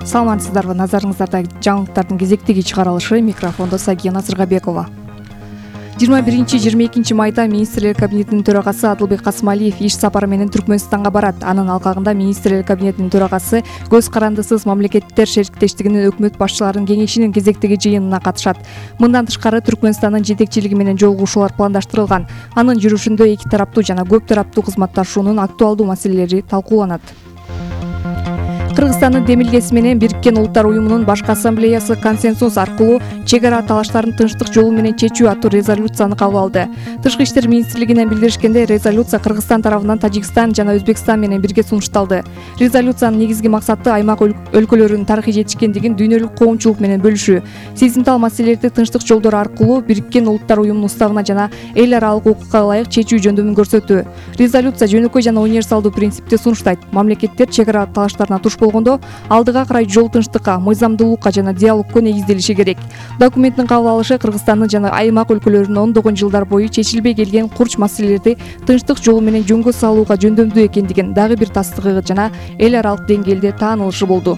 Саламатсыздарбы, назарыңыздарда жаңылыктардын кезектеги чыгарылышы, микрофондо Сагина Сыргабекова. 21-22 майда министрлер кабинетинин төрагасы Адылбек Касымалиев иш сапары менен Түркмөнстанга барат. Анын алкагында министрлер кабинетинин төрагасы көз карандысыз мамлекеттер шериктештигинин өкмөт башчыларынын кеңешинин кезектеги жыйынына катышат. Мындан тышкары Түркмөнстандын жетекчилиги менен жолугушуулар пландаштырылган. Анын жүрүшүндө эки тараптуу жана көп тараптуу кызматташуунун актуалдуу маселелери талкууланат. Кыргызстандын демилгеси менен Бириккен Улуттар уюмунун башкы ассамблеясы консенсус аркылуу чек ара талаштарын тынчтык жолу менен чечүү аттуу резолюцияны кабыл алды. Тышкы иштер министрлигинен билдиришкендей, резолюция Кыргызстан тарабынан Тажикстан жана Өзбекстан менен бирге сунушталды. Резолюциянын негизги максаты аймак өлкөлөрүнүн тарыхый жетишкендигин дүйнөлүк коомчулук менен бөлүшүү, сезимтал маселелерди тынчтык жолдору аркылуу Бириккен Улуттар уюмунун уставына жана эл аралык укукка ылайык чечүү жөндөмүн көрсөтүү. Резолюция жөнөкөй жана универсалдуу принципти сунуштайт. Мамлекеттер чек ара талаштарына туш болгондо алдыга карай жол тынчтыкка, мыйзамдуулукка жана диалогко негизделиши керек. Документтин кабыл алышы Кыргызстандын жана аймак өлкөлөрүнүн ондогон жылдар бою чечилбей келген курч маселелерди тынчтык жолу менен жөнгө салууга жөндөмдүү экендигин дагы бир тастыгы жана эл аралык деңгээлде таанылышы болду.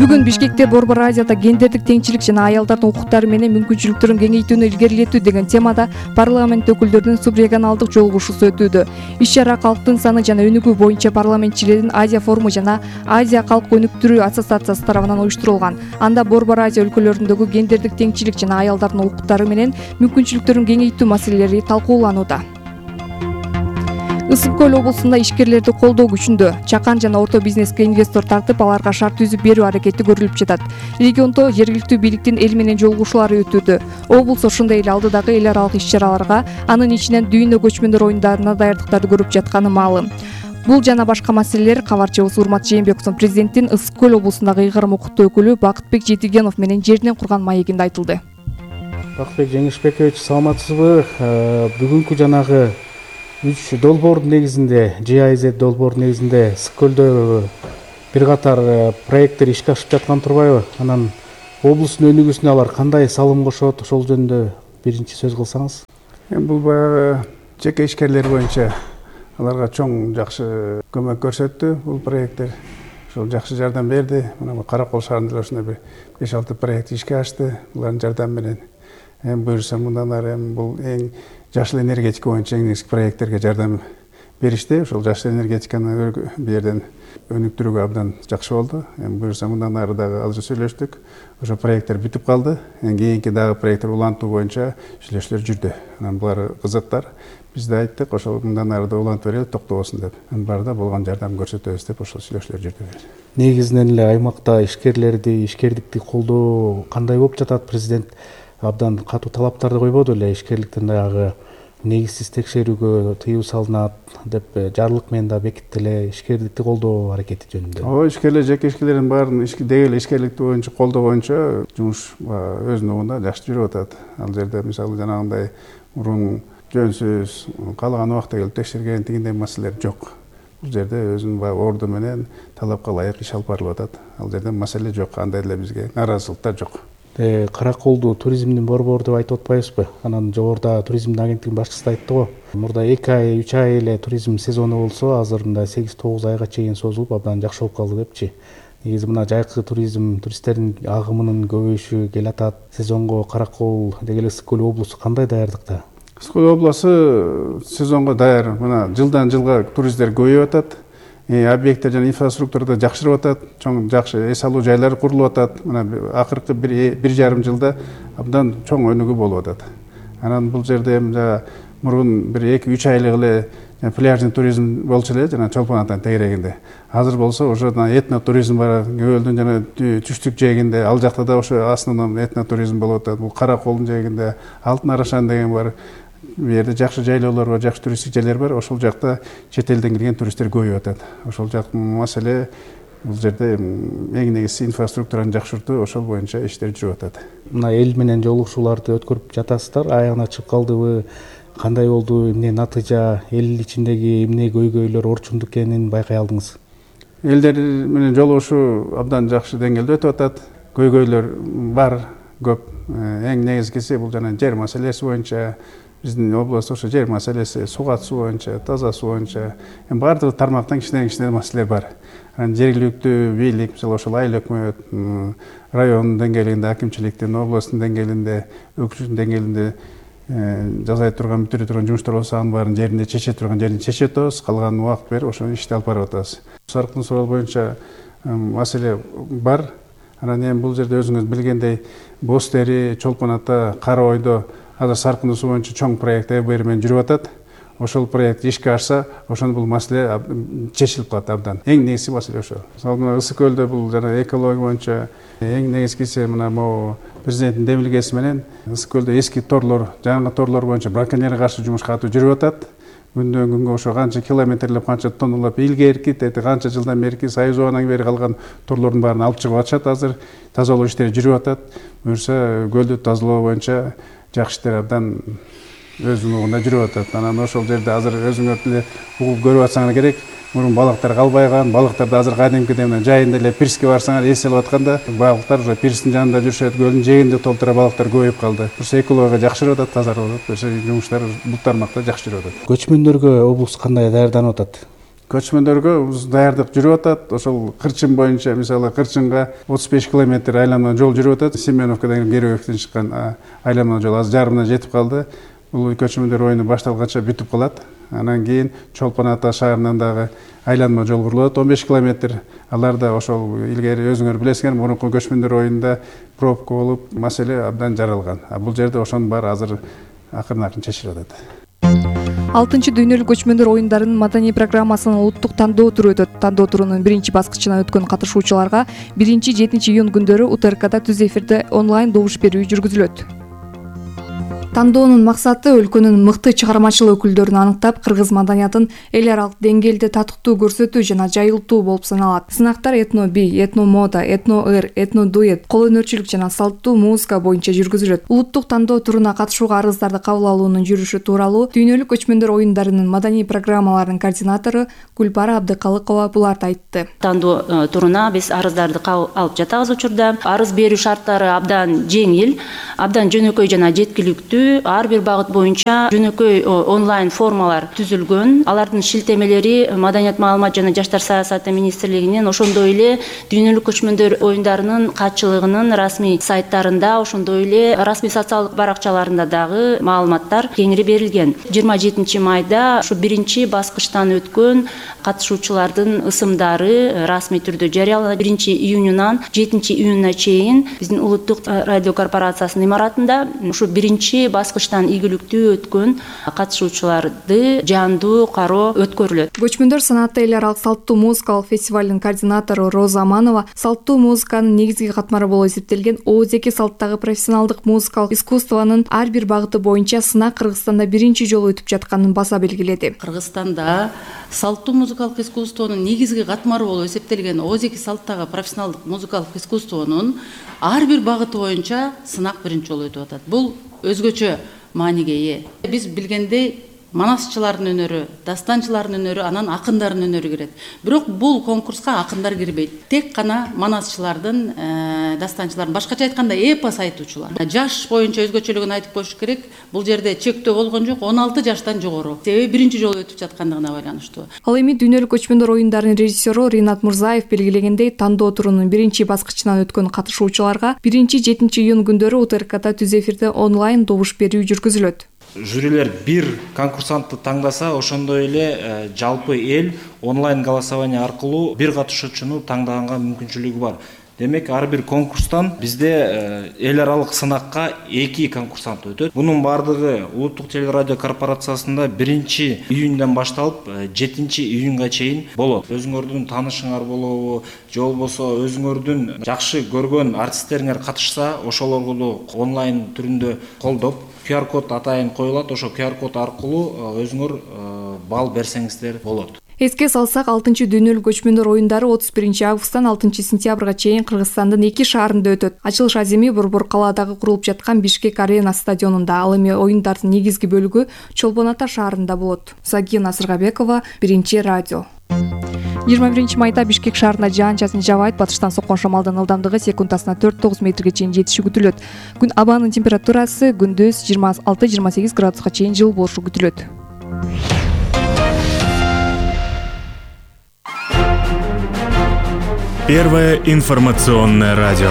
Бүгүн Бишкекте Борбор Азияда гендердик теңчилик жана аялдардын укуктары менен мүмкүнчүлүктөрүн кеңейтүүнү илгерилетүү деген темада парламент өкүлдөрүнүн субрегионалдык жолугушуусу өтүүдө. Иш-чара калктын саны жана өнүгүү боюнча парламентчилердин Азия форуму жана Азия калк өнүктүрүү ассоциациясы тарабынан уюштурулган. Анда Борбор Азия өлкөлөрүндөгү гендердик теңчилик жана аялдардын укуктары менен мүмкүнчүлүктөрүн кеңейтүү маселелери талкууланууда. Ысык Көл облусунда ишкерлерди колдоо күчүндө. Чакан жана орто бизнеске инвестор тартып, аларга шарт түзүп берүү аракети көрүлүп жатат. Региондо жергиликтүү бийликтин эл менен жолугушуулары өтүүдө. Облус ошондой эле алдыдагы эл аралык иш-чараларга, анын ичинен дүйнө көчмөндөр оюндарына даярдыктарды көрүп жатканы маалым. Бул жана башка маселелер кабарчыбыз Урмат Жээнбековдун президенттин Ысык Көл облусундагы ыйгарым укуктуу өкүлү Бакытбек Жетигенов менен жеринен курган маегинде айтылды. Бакытбек Жеңишбекович, саламатсызбы? Бүгүнкү жанагы 3 долбоордун негизинде, GIZ долбоордун негизинде Ысык Көлдө бир катар проекттер ишке ашып жаткан турбайбы? Анан облустун өнүгүүсүнө алар кандай салым кошот? Ошол жөнүндө биринчи сөз кылсаңыз. Бул баягы жеке ишкерлер боюнча аларга чоң жакшы көмөк көрсөттү бул проекттер. Ошол жакшы жардам берди. Мына Каракол шаарында ошондой бир 5-6 проект ишке ашты. Булардын жардамы менен буюрса мындан ары бул эң жашыл энергетика боюнча эң негизги проекттерге жардам беришти. Ошол жашыл энергетиканы бу жерден өнүктүрүүгө абдан жакшы болду. Буюрса мындан ары дагы азыр сүйлөштүк. Ошо проекттер бүтүп калды. Кийинки дагы проекттер улантуу боюнча сүйлөшүүлөр жүрдү. Анан булар кызыктар. Биз да айттык, ошол мындан ары да улантып берели, токтобосун деп. Барда болгон жардам көрсөтөбүз деп ошол сүйлөшүүлөр жүрдү. Негизинен эле аймакта ишкерлерди, ишкердикти колдоо кандай болуп жатат? Президент абдан катуу талаптарды койбоду эле, ишкерликтин дагы негизсиз текшерүүгө тыюу салынат деп жарлык менен да бекитти эле, ишкердикти колдоо аракети жөнүндө. Ишкерлер, жеке ишкерлердин баарын деги ишкерликти боюнча колдоо боюнча жумуш өзүнүн убагында жакшы жүрүп атат. Ал жерде мисалы жанагындай мурун жөнсүз каалаган убакта келип текшерген тигиндей маселелер жок. Бул жерде өзүнүн орду менен талапка ылайык иш алып барылып атат. Ал жерде маселе жок, андай эле бизге нааразычылыктар жок. Караколду туризмдин борбору деп айтып атпайбызбы? Анан жогоруда туризмдин агенттигинин башчысы да айтты го. Мурда 2 ай, 3 ай эле туризм сезону болсо, азыр мында 8-9 айга чейин созулуп, абдан жакшы болуп калды депчи. Негизи мына жайкы туристтердин агымынын көбөйүшү келатат. Сезонго Каракол деги эле Ысык Көл облусу кандай даярдыкта? Ысык Көл облусу сезонго даяр. Мына жылдан жылга туристтер көбөйүп атат. Объекттер жана инфраструктурада жакшырып атат, чоң жакшы эс алуу жайлары курулуп атат. Мына акыркы 1,5 жылда абдан чоң өнүгүү болуп атат. Анан бул жерде мурун бир 2-3 айлык эле пляжный туризм болчу эле, жана чолпон атанын тегерегинде. Азыр болсо уже этно туризм бар, Көлдүн жана түштүк жээгинде, ал жакта да ошо основной этно туризм болуп атат. Бул Караколдун жээгинде Алтын Арашан деген бар. Бу жерде жакшы жайлоолор бар, жакшы туристтик жерлер бар. Ошол жакта чет элден келген туристтер көбөйүп атат. Ошол жактын маселе бул жерде эң негизги инфраструктураны жакшыртуу, ошол боюнча иштер жүрүп атат. Мына эл менен жолугушууларды өткөрүп жатасыздар. Аягына чыгып калдыбы? Кандай болду? Эмне натыйжа? Эл ичиндеги эмне көйгөйлөр, орчундук экенин байкай алдыңыз? Элдер менен жолугушуу абдан жакшы деңгээлде өтүп атат. Көйгөйлөр бар, көп. Эң негизгиси бул жана жер маселеси боюнча биздин область ошо жер маселеси, сугат суу боюнча, таза суу боюнча баардык тармактан кичинекей маселелер бар. Анан жергиликтүү бийлик, мисалы ошол айыл өкмөт, район деңгээлинде, акимчиликтин, областтын деңгээлинде, өкмөттүн деңгээлинде жасай турган, бүтүрө турган жумуштар болсо анын баарын жеринде чече турган жерин чечип атабыз, калганын убакыт берип ошону ишти алып барып атабыз. Сарыктын суроолу боюнча маселе бар. Анан эми бул жерде өзүңүз билгендей Боз Тери, Чолпон Ата, Кара Ойдо азыр саркындуу суу боюнча чоң проект ЭБР менен жүрүп атат. Ошол проект ишке ашса, ошону бул маселе чечилип калат абдан. Эң негизги маселе ошо. Мисалы мына Ысык көлдө бул жана экология боюнча эң негизгиси мына могу президенттин демилгеси менен Ысык көлдө эски торлор, жаңы торлор боюнча браконьерге каршы жумуш катуу жүрүп атат. Күндөн күнгө ошо канча километрлеп, канча тонналап илгерки, канча жылдан берки Союз убагынан бери калган торлордун баарын алып чыгып атышат. Азыр тазалоо иштери жүрүп атат. Буюрса көлдү тазалоо боюнча жакшы иштер абдан өз унугунда жүрүп атат. Анан ошол жерде азыр өзүңөр деле угуп көрүп атсаңар керек. Мурун балыктар калбайган, балыктарды азыр кадимкидей мына жайында эле пирске барсаңар эс алып атканда балыктар уже пирстин жанында жүрүшөт, көлдүн жээгинде толтура балыктар көбөйүп калды. Ошо экология жакшырып атат, тазарып атат. Ошо жумуштар бул тармакта жакшы жүрүп атат. Көчмөндөргө облус кандай даярданып атат? Көчмөндөргө даярдык жүрүп атат. Ошол Кырчын боюнча, мисалы Кырчынга 35 километр айланма жол жүрүп атат. Семеновкадан Героевден чыккан айланма жол азыр жарымына жетип калды. Бул көчмөндөр оюну башталганча бүтүп калат. Анан кийин Чолпон Ата шаарынан дагы айланма жол курулат 15 километр. Алар да ошол илгери өзүңөр билесиңер, мурунку көчмөндөр оюнда пробка болуп, маселе абдан жаралган. Бул жерде ошонун баары азыр акырын чечилип атат. 6 дүйнөлүк көчмөндөр оюндарынын маданий программасынын улуттук тандоо туру өтөт. Тандоо турунун биринчи баскычына өткөн катышуучуларга 1-7 июнь күндөрү УТРКда түз эфирде онлайн добуш берүү жүргүзүлөт. Тандоонун максаты өлкөнүн мыкты чыгармачыл өкүлдөрүн аныктап, кыргыз маданиятын эл аралык деңгээлде татыктуу көрсөтүү жана жайылтуу болуп саналат. Сынактар этно-би, этно-мода, этно-ыр, этно-дуэт, кол өнөрчүлүк жана салттуу музыка боюнча жүргүзүлөт. Улуттук тандоо туруна катышууга арыздарды кабыл алуунун жүрүшү тууралуу дүйнөлүк көчмөндөр оюндарынын маданий программаларынын координатору Гүлбара Абдыкалыкова буларды айтты. Тандоо туруна биз арыздарды кабыл алып жатабыз учурда. Арыз берүү шарттары абдан жеңил, абдан жөнөкөй жана жеткиликтүү. Ар бир багыт боюнча жөнөкөй онлайн формалар түзүлгөн. Алардын шилтемелери Маданият, маалымат жана жаштар саясаты министрлигинин, ошондой эле дүйнөлүк көчмөндөр оюндарынын катчылыгынын расмий сайттарында, ошондой эле расмий социалдык баракчаларында дагы маалыматтар кеңири берилген. 27 майда ушу биринчи баскычтан өткөн катышуучулардын ысымдары расмий түрдө жарыяланат. 1 июнунан 7 июнуна чейин биздин улуттук радио корпорациясынын имаратында ушу биринчи баскычтан ийгиликтүү өткөн катышуучуларды жандуу кароо өткөрүлөт. Көчмөндөр санааты эл аралык салттуу музыкалык фестивалынын координатору Роза Аманова салттуу музыканын негизги катмары болуп эсептелген ооз-эки салттагы профессионалдык музыкалык искусствонун ар бир багыты боюнча сынак Кыргызстанда биринчи жолу өтүп жатканын баса белгиледи. Кыргызстанда салттуу музыкалык искусствонун негизги катмары болуп эсептелген ооз-эки салттагы профессионалдык музыкалык искусствонун ар бир багыты боюнча сынак биринчи жолу өтүп атат. Бул өзгөчө мааниге ээ. Биз билгендей манасчылардын өнөрү, дастанчылардын өнөрү, анан акындардын өнөрү кирет. Бирок бул конкурска акындар кирбейт. Тек гана манасчылардын, дастанчылардын, башкача айтканда эпос айтуучулар. Жаш боюнча өзгөчөлүгүн айтып коюш керек. Бул жерде чектөө болгон жок, 16 жаштан жогору. Себеби биринчи жолу өтүп жаткандыгына байланыштуу. Ал эми дүйнөлүк көчмөндөр оюндарынын режиссеру Ринат Мурзаев белгилегендей, тандоо турунун биринчи баскычынан өткөн катышуучуларга 1-7 июнь күндөрү УТРКда түз эфирде онлайн добуш берүү жүргүзүлөт. Жюрилер бир конкурсантты таңдаса, ошондой эле жалпы эл онлайн голосование аркылуу бир катышуучуну таңдаганга мүмкүнчүлүгү бар. Демек, ар бир конкурстан бизде эл аралык сынакка 2 конкурсант өтөт. Бунун бардыгы улуттук телерадио корпорациясында 1 июндан башталып 7 июнга чейин болот. Өзүңөрдүн таанышыңар болобу, же болбосо өзүңөрдүн жакшы көргөн артисттериңер катышса, ошолорду онлайн түрүндө колдоп, QR-код атайын коюлат, ошо QR-код аркылуу өзүңөр балл берсеңиздер болот. Эске салсак, 6 дүйнөлүк көчмөндөр оюндары 31 августтан 6 сентябрга чейин Кыргызстандын 2 шаарында өтөт. Ачылыш аземи Борбор калаадагы курулуп жаткан Бишкек Арена стадионунда. Ал эми оюндардын негизги бөлүгү Чолпон Ата шаарында болот. Сагина Сыргабекова, Биринчи радио. 21 майда Бишкек шаарында жаан-чачын жаабайт. Батыштан соккон шамалдын ылдамдыгы секундасына 4-9 метрге чейин жетиши күтүлөт. Күн абанын температурасы күндүз 26-28 градуска чейин жылы болушу күтүлөт. Первое информационное радио.